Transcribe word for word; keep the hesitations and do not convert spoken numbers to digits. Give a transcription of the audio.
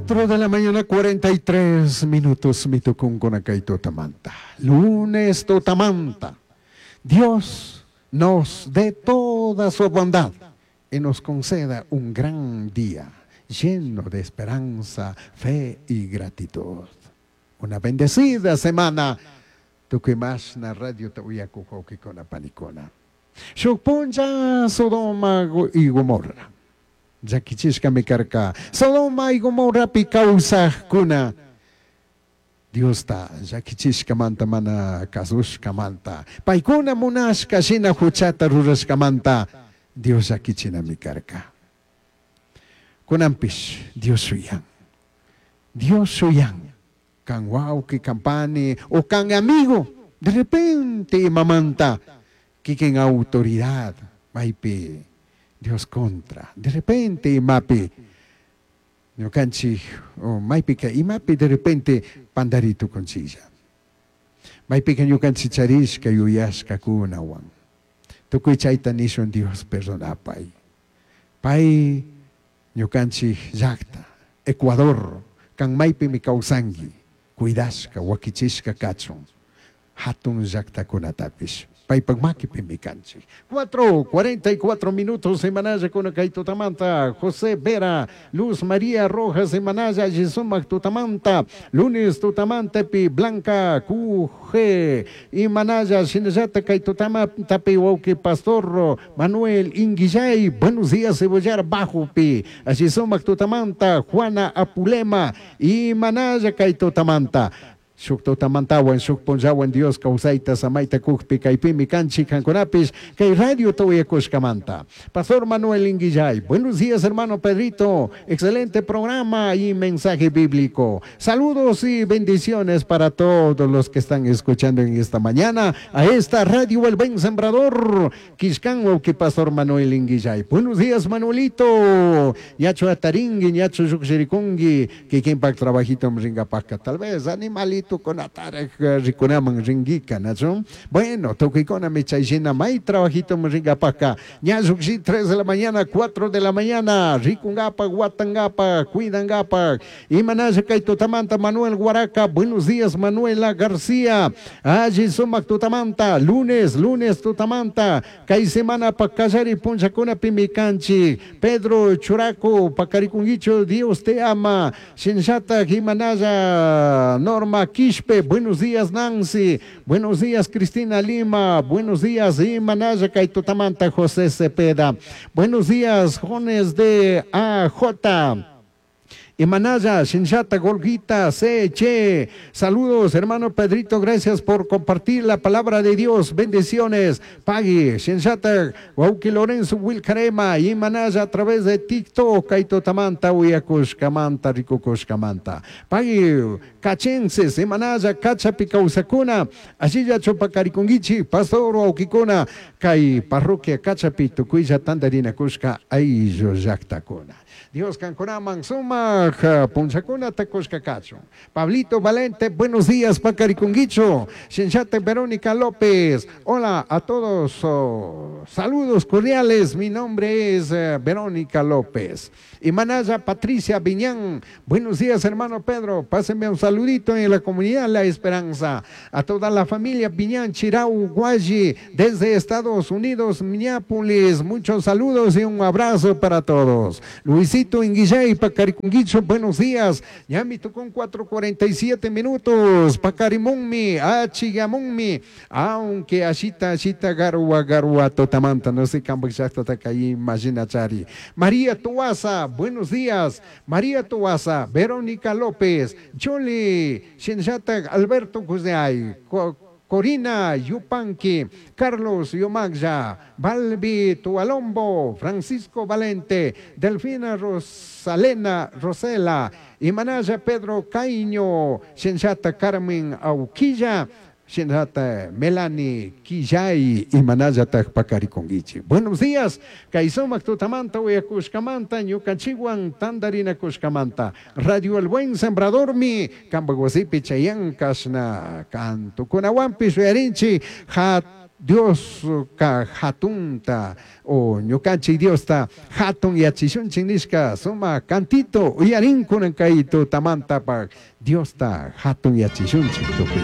Cuatro de la mañana, cuarenta y tres minutos, mitukunkuna kay tutamanta. Lunes tutamanta. Dios nos dé toda su bondad y nos conceda un gran día lleno de esperanza, fe y gratitud. Una bendecida semana. Tukuy mashna radiota uyakuq wawqikuna panikuna. Shuk punlla Sodoma y Gomorra. Llakichishkami karka. Sodoma y Gomorrapi kawsaqkuna. Diosta llakichishkamanta mana kasushkamanta. Paykuna munashka shina huchata rurashkamanta Dios llakichinami karka. Kunanpish Dios shuyan. Dios shuyan. Kan wawqi, kan pani o kan amigo. De repente imamanta kikin autoridad maypi Dios contra. De repente imapi ñukanchik o maypika imapi de repente pandaritukunchiklla. Maypika ñukanchik charishka yuyashkakunawan. Tukuy chayta nishun Dios perdonapay. Pay ñukanchik llaqta, Ecuador, kan maypimi kawsanki, cuidashka, wakichishka kachun, hatun llaqtakunatapish. Paypak makipimi kanchik. Cuatro, cuarenta y cuatro minutos semanalla con kay tutamanta. José Vera, Luz María Rojas semanalla, Yisumak tutamanta. Lunes tutamanta pi Blanca Q G. Imanalla, shinallata kay tutamanta pi wauki Pastor Manuel Inguillay. Buenos días, Cebollar Bajo pi. Yisumak tutamanta, Juana Apulema. Imanalla kay tutamanta. Shuk tutamantawan, shuk punllawan Dios kawsayta samayta kukpi kaypimi kanchik kankunapis kay radio tuyakushkamanta. Pastor Manuel Inguillay, buenos días hermano Pedrito, excelente programa y mensaje bíblico. Saludos y bendiciones para todos los que están escuchando en esta mañana a esta radio El Buen Sembrador. Kishkan wawki Pastor Manuel Inguillay. Buenos días Manuelito. Ñacho ataringui, ñacho llukshirikungi, kikinpak trabajito mringapaka, tal vez animalito con atarek rikunaman ringika, ¿no? Bueno, tukikuna michayshina may trabajito mringapaka. Ñashukshi tres de la mañana, cuatro de la mañana, rikungapa, guatangapa, cuidangapa. Imanasha kay tutamanta Manuel Guaraca, buenos días Manuela García. Allí sumak tutamanta, lunes, lunes tutamanta. Kay semana pakallari punchakuna pimikanchi. Pedro Churaco, pakarikunguicho, Dios te ama. Shinshata Jimanaya, Norma Quispe, buenos días Nancy, buenos días Cristina Lima, buenos días Imanaya Kaitutamanta José Cepeda, buenos días Jones de A J. Imanaya, Shinshata, Golguita, C, Che. Saludos, hermano Pedrito, gracias por compartir la palabra de Dios. Bendiciones. Pagui, Shinshata, Wauki Lorenzo, Wilcarema, Imanaya a través de TikTok, Kaito Tamanta, Uyakushkamanta, Rikukushkamanta. Pagui, Cachenses, Imanaya, Cachapi Causacuna, Asilla Chopacarikunguichi, Pastor Waukikuna, Kai Parroquia Cachapi, Tukuya Tandarina Kushka, Ayllo Yactacuna. Dios kankunaman sumak punchakuna takushka kachun. Pablito Valente, buenos días, Pacarikunguicho. Shinshate Verónica López, hola a todos, oh, saludos cordiales, mi nombre es eh, Verónica López. Y Manaya Patricia Viñán, buenos días hermano Pedro, pásenme un saludito en la comunidad La Esperanza. A toda la familia Viñán Chirau Guayi, desde Estados Unidos, Minneapolis, muchos saludos y un abrazo para todos. Luisito Inguillay, Pacarikunguicho, buenos días. Ya me tocó en cuatro cuarenta y siete minutos. Pacarimunmi, Achigamunmi, aunque ashita, ashita, garua, garua, totamanta, no sé cómo exacto ahí, imagina chari. María Tuaza, buenos días. María Tuaza, Verónica López, Choli, Shinshata, Alberto Cuseay, Corina Yupanqui, Carlos Yomagya, Balbi Tualombo, Francisco Valente, Delfina Rosalena Rosela, Imanaya Pedro Caño, Shinshata Carmen Auquilla, Shinshata Melanie Quillay, Imanaya Tajpacariconguichi. Buenos días, Kaisomac Tutamanta, Uyacushcamanta, Ñucanchihuan, Tandarina Cushcamanta, Radio El Buen Sembrador mi, Cambaguasipi, Chayan, Kashna, Cantucunahuampi, Shuyarinchi, Hat Diosca jatunta o ñucanchij Diosta jatun yachishunchij nishca sumaj cantito uyarin cunan cai tutamantapaj Diosta jatun yachishunchij tucui.